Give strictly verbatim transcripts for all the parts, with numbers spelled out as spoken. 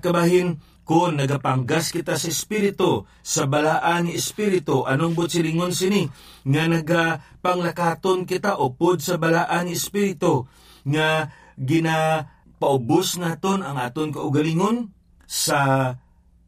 Kabahin, kon nagapanggas kita sa Espiritu, sa balaan ni Espiritu, anong buot silingon sini? Nga nagapanglakaton kita upod sa balaan ni Espiritu, nga ginapaubos naton ang aton kaugalingon sa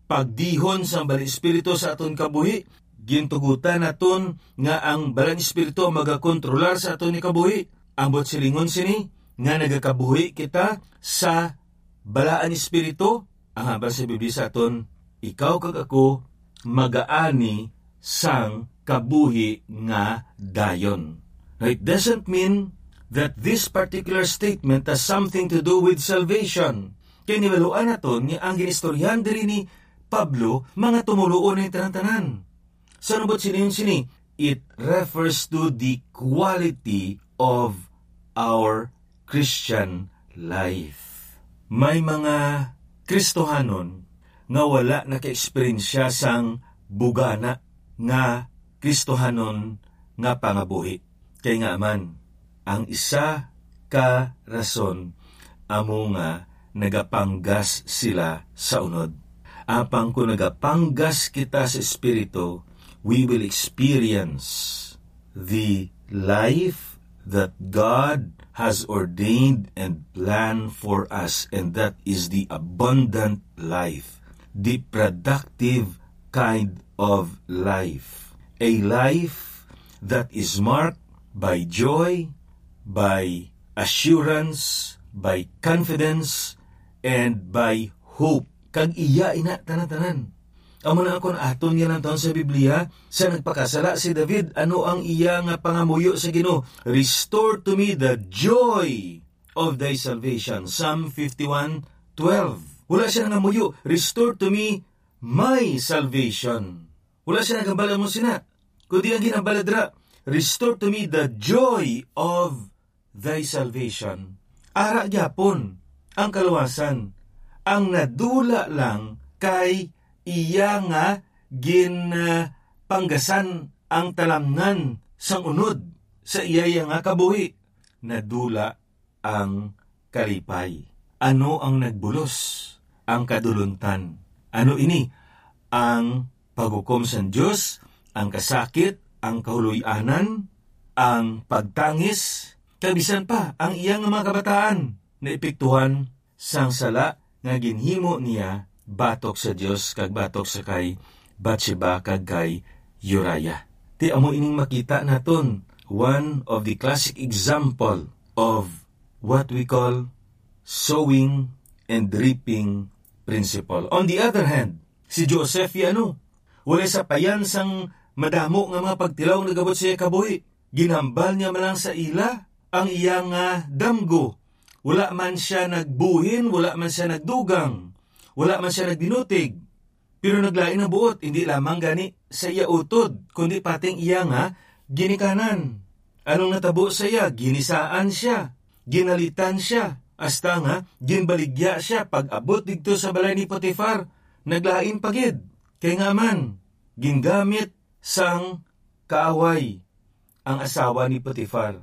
pagdihon sang Balaang Espiritu sa aton kabuhi. Gintugutan naton nga ang Balaang Espiritu ang magakontrolar sa aton ni kabuhi. Ang buot silingon sini, nga nagakabuhi kita sa Balaan Espiritu, ang hambal sa Biblia sa aton, ikaw kag ako magaani sang kabuhi nga dayon. Now, it doesn't mean that this particular statement has something to do with salvation. Kay nahibaluan naton nga ang ginistoryahan diri ni Pablo, mga tumoluo na tanan-tanan. Sa lubot sini, sini, it refers to the quality of our Christian life. May mga Kristohanon nga wala naka-eksperyensya sang bugana nga Kristohanon nga pangabuhi. Kay nga man, ang isa ka rason amo nga nagapanggas sila sa unod. Apang kung nagapanggas kita sa Espiritu, we will experience the life that God has ordained and planned for us, and that is the abundant life, the productive kind of life, a life that is marked by joy, by assurance, by confidence, and by hope. Kag iya ina tanan-tanan. Amo na akon aton nga lantaon sa Biblia, sa nagpakasala si David, ano ang iya nga pangamuyo sa Ginoo? "Restore to me the joy of thy salvation." Psalm fifty-one twelve. Wala siya nangamuyo, "Restore to me my salvation." Wala siya nagambala mo sina. Kundi ang ginambala dira, "Restore to me the joy of thy salvation." Ara gyapon ang kaluwasan, ang nadula lang kay iya nga ginpanggasan ang talamnan sang unod sa iya nga kabuhi. Nadula ang kalipay. Ano ang nagbulos? Ang kaduluntan. Ano ini? Ang paghukom sang Dios, ang kasakit, ang kahuloy-anan, ang pagtangis, kag bisan pa ang iya nga mga kabataan naepektuhan sang sala nga ginhimo niya batok sa Dios kag batok sa kay Bathsheba kag kay Uriah. Ti amo ining makita naton, one of the classic example of what we call sowing and reaping principle. On the other hand, si Joseph, ano, walay sapayan sang madamo nga mga pagtilaw nga nagabot sa iya kabuhi. Ginhambal niya man lang sa ila ang iya nga damgo. Wala man siya nagbuhin, wala man siya nagdugang, wala man siya nagbinutig. Pero naglain ang buot, hindi lamang gani sa iya utod, kundi pati ang iya nga ginikanan. Anong natabo sa iya? Ginisaan siya, ginalitan siya, hasta nga ginbaligya siya pag-abot didto sa balay ni Potifar. Naglain pa gid, kay nga man, gingamit sang kaaway ang asawa ni Potifar,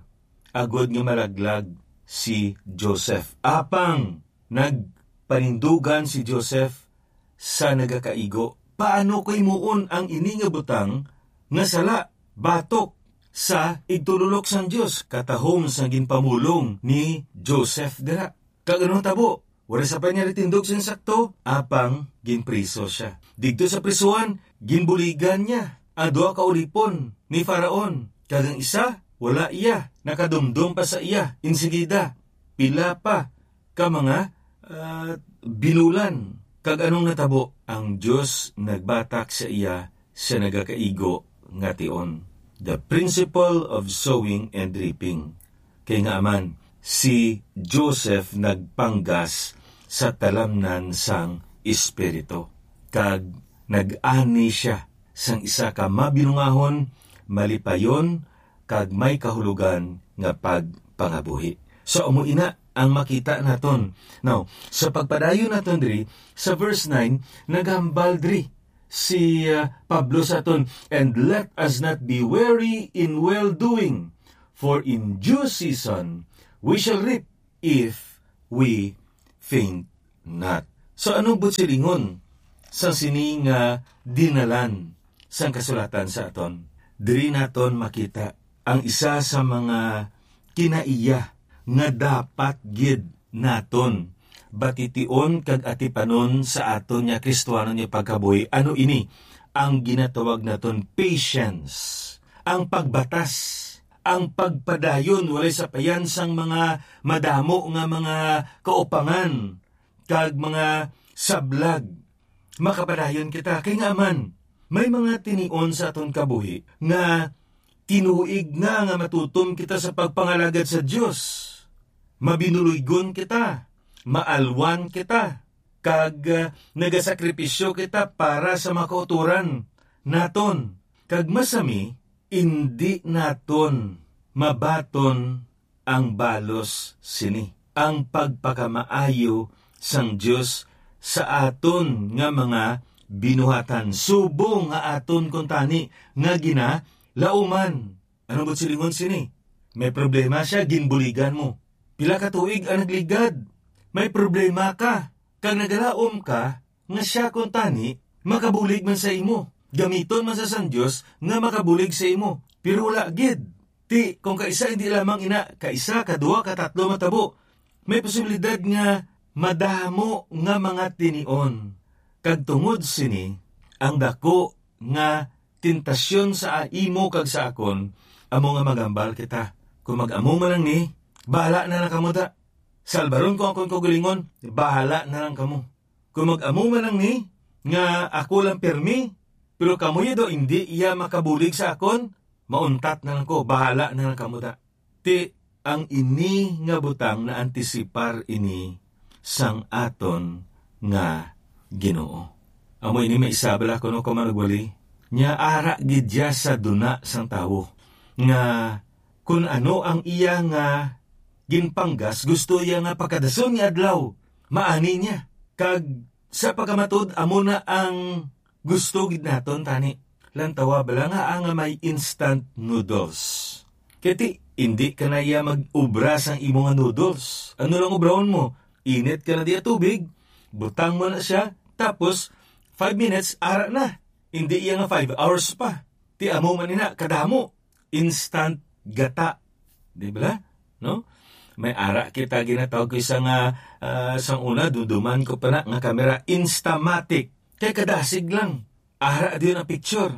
agod nga malaglag si Joseph. Apang nagpanindugan si Joseph sa nagakaigo, paano ko himuon ang ini nga butang nga sala batok sa igtululok sang Dios? Katahom sang ginpamulong ni Joseph dira. Kag ano tabo? Wala sa pa niya natindog sing sakto, apang ginpriso sia. Didto sa prisuhan, ginbuligan niya ang duha ka ulipon ni Faraon, kag ang isa, wala iya, nakadumdom pa sa iya. Insigida, pila pa ka mga, ah, binulan. Kag anong natabo? Ang Dios nagbatak sa iya sa nagakaigo nga tion. The principle of sowing and reaping. Kay nga man, si Joseph nagpanggas sa talamnan sang Espiritu, kag nag-ani sia sang isa ka mabinungahon, malipayon, kag may kahulogan nga pagpangabuhi. So, amo ina ang makita naton. Now, sa pagpadayon naton diri, sa verse nine, naghambal diri si, ah, Pablo sa aton, "And let us not be weary in well-doing, for in due season we shall reap if we faint not." So, ano buot silingon sang sini nga dinalan sang kasulatan sa aton? Diri naton makita ang isa sa mga kinaiya nga dapat gid naton batiin kag atipanon sa aton nga Kristiyanon nga pagkabuhi. Ano ini? Ang ginatawag naton patience, ang pagbatas, ang pagpadayon, walay sapayan sang mga madamo nga mga kaupangan kag mga sablag. Makapadayon kita, kay ngaa man, may mga tinion sa aton kabuhi nga tinuig na nga matutom kita sa pagpangalagad sa Dios. Mabinuloygon kita, maalwan kita, kag, ah, nagasakripisyo kita para sa mga kautoran naton. Kag masami, indi naton mabaton ang balos sini, ang pagpakamaayo sang Dios sa aton nga mga binuhatan, subong nga aton kuntani nga ginalauman. Ano buot silingon sini? May problema siya, ginbuligan mo. Pila ka tuig ang nagligad? May problema ka, kag nagalaom ka nga siya kuntani makabulig man sa imo. Gamiton man sa sang Dios nga makabulig sa imo. Pero wala gid. Ti, kung kaisa, hindi lamang ina, kaisa, kadua, katatlo matabo. May posibilidad nga madamo nga mga tinion. Kag tungod sini, ang dako nga tentasyon sa imo kag sa akon, amo nga maghambal kita. Kung mag-amo man lang ni, bahala na lang kamo da. Salbaron ko akon kaugalingon, bahala na lang kamo. Kung mag-amo man lang ni, nga ako lang pirmi, pero kamo ya daw hindi iya makabulig sa akon, mauntat na lang ko, bahala na lang kamo da. Ti, ang ini nga butang naantisipar ini sang aton nga Ginoo. Amo ini may isabala kuno ka manugwali, nya ara gid iya sa duna sang tawo, nga kun ano ang iya nga ginpanggas, gusto iya nga pagkadason nga adlaw, maani niya. Kag sa pagkamatud, amo na ang gusto gid naton tani. Lantawa bala nga, ah, nga may instant noodles. Kay ti, indi ka na iya mag-ubra sang imo nga noodles. Ano lang ubrahon mo? Init ka na diya tubig, butang mo na siya, tapos five minutes, ara na. Indi iya nga five hours pa. Ti amo man ina, kadamo. Instant gata. Di ba? No? May ara kita ginatawag ko isa nga, ah, sang una, duduman ko pa na nga kamera, Instamatic. Kay kadasig lang. Ara diyon ang picture.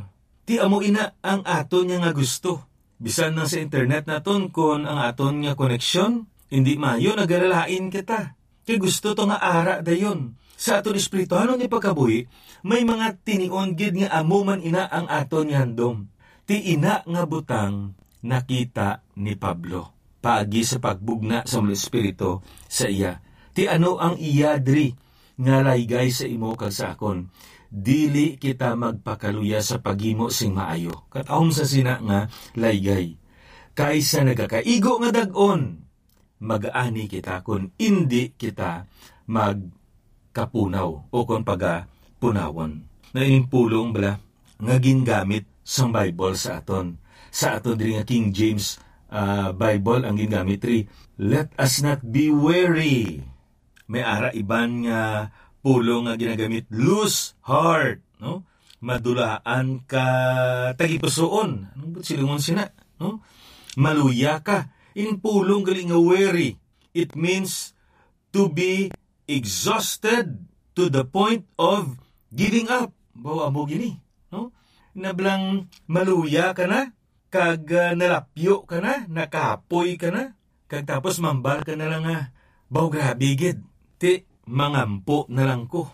Ti amo ina ang aton nga, nga gusto. Bisan na sa internet naton, kon ang aton nga koneksyon, hindi mayo, nagalalain kita. Kay gusto to nga ara dayon. Sa aton espirituhanon nga pagkabuhi, may mga tinion gid nga amo man ina ang aton nga handom. Ti ina nga butang nakita ni Pablo paagi sa pagbugna sa mga espiritu sa iya. Ti ano ang iya diri nga laygay sa imo kag sa akon? Dili kita magpakaluya sa paghimo sing maayo, katahom sa sina nga laygay. Kaysa nagakaigo nga dag-on, mag-ani kita kon indi kita magkapunaw o kon pagapunawon. Na ining pulong bala nga gingamit sang Bible sa aton. Sa aton diri nga King James, ah, Bible ang gingamit ri, "Let us not be weary." May ara iban nga pulong nga ginagamit, "Lose heart," no? Madulaan ka tagipusoon. Ano ba silingon sina, no? Maluya ka. In pulong gali nga weary, it means to be exhausted to the point of giving up. Bawa mo gini, no? Nablang maluya ka na, kag, ah, nalapyo ka na, nakapoy ka na, kag tapos mambal ka na lang nga, "Baw, grabe gid. Ti, mangampo na lang ko.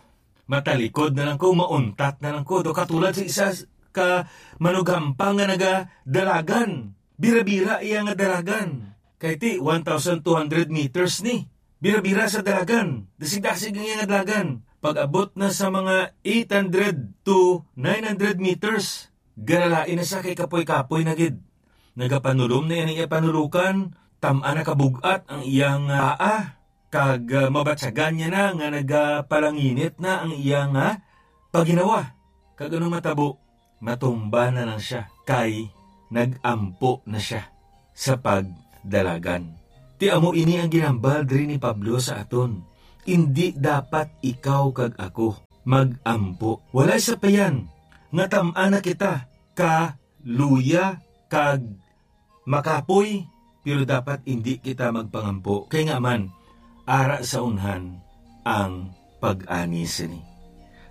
Matalikod na lang ko, mauntat na lang ko." Do katulad sa isa ka manugampang nga nagadalagan. Bira-bira iya nga dalagan. Kay ti, one thousand two hundred meters ni. Bira-bira sa dalagan. Dasig-dasig ang iya nga dalagan. Pag-abot na sa mga eight hundred to nine hundred meters, galalain na siya kay kapoy-kapoy na gid. Nagapanulom na iya ning iya panulukan, tam-a na kabug-at ang iyang, ah, paa, kag, ah, mabatyagan niya na nga nagapalanginit na ang iyang, ah, pagginawa. Kag anong matabo? Matumba na lang siya, kay nag-ampo na siya sa pagdalagan. Ti amo ini ang ginhambal diri ni Pablo sa aton. Indi dapat ikaw kag ako mag-ampo. Walay sapayan nga tam-an na kita ka luya kag makapoy, pero dapat indi kita magpangampo. Kay nga man, ara sa unhan ang pag-ani sini.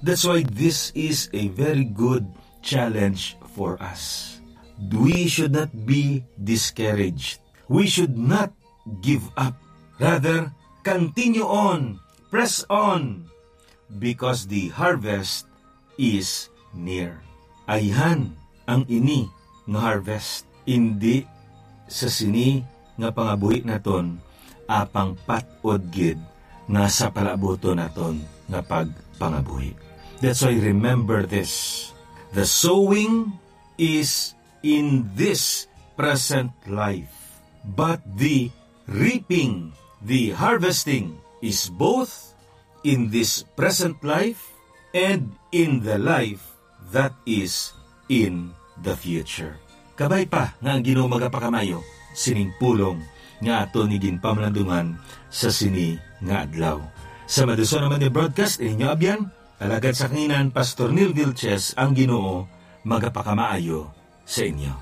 That's why this is a very good challenge for us. We should not be discouraged. We should not give up. Rather, continue on, press on, because the harvest is near. Ayhan ang ini nga harvest, indi sa sini nga pangabuhi naton, apang pat-od gid nga sa palabuton naton nga pagpangabuhi. That's why, remember this: the sowing is in this present life, but the reaping, the harvesting, is both in this present life and in the life that is in the future. Kabay pa nga ang Ginoo magapakamayo sining pulong nga aton ni ginpamalandungan sa sini nga adlaw. Sa maduso naman ni broadcast, inyo abyan, alagad sa kanginan, Pastor Neil Vilches, ang Ginoo magapakamaayo sa inyo.